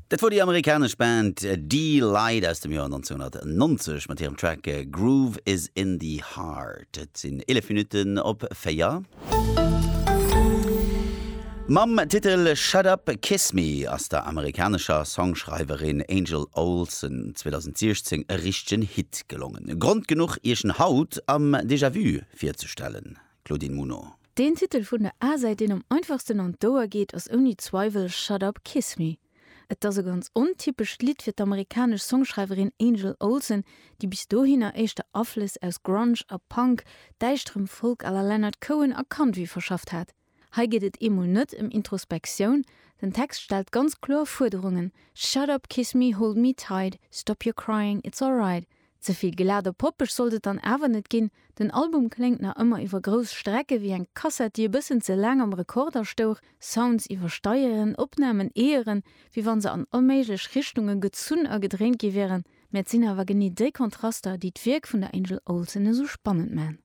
Dat wor déi amerikanesch Band Deee-Lite aus dem Joer 1990 mat hirem Track Groove Is In The Heart. Et sinn 11 Minutten op 4. Mam Titel Shut Up, Kiss Me ass der amerikanescher Songschreiwerin Angel Olsen 2016 e richtegen Hit gelongen. Grond genuch iech en haut am Déjà Vu virzestellen. Claudine Muno. Deen Titel vun der A-Säit deen am einfachsten an d'Ouer geet ass ouni Zweiwel Shut Up, Kiss Me. Et ass e ganz ontypescht Lidd fir d'amerikanesch Songschreiwerin Angel Olsen, déi bis dohinner éischter Aflëss aus Grunge a Punk, däischterem Folk à la Leonard Cohen a Country verschafft hat. Hei geet et eemol net ëm Introspektioun, den Text stellt ganz kloer Fuerderungen, Shut up, kiss me, hold me tight, stop your crying, it's alright. Ze vill glat a poppeg sollt et dann awer net ginn, den Album kléngt nach ëmmer iwwer grouss Strecke wéi eng Kassett, déi e bëssen ze laang am Rekorder stouch, Sounds iwwersteieren, Opnamen eeëren, wéi wann se an allméiglech Richtunge gezunn a gedréint gi wieren. Mä et sinn awer genee déi Kontraster, déi d'Wierk vun der Angel Olsen esou spannend man.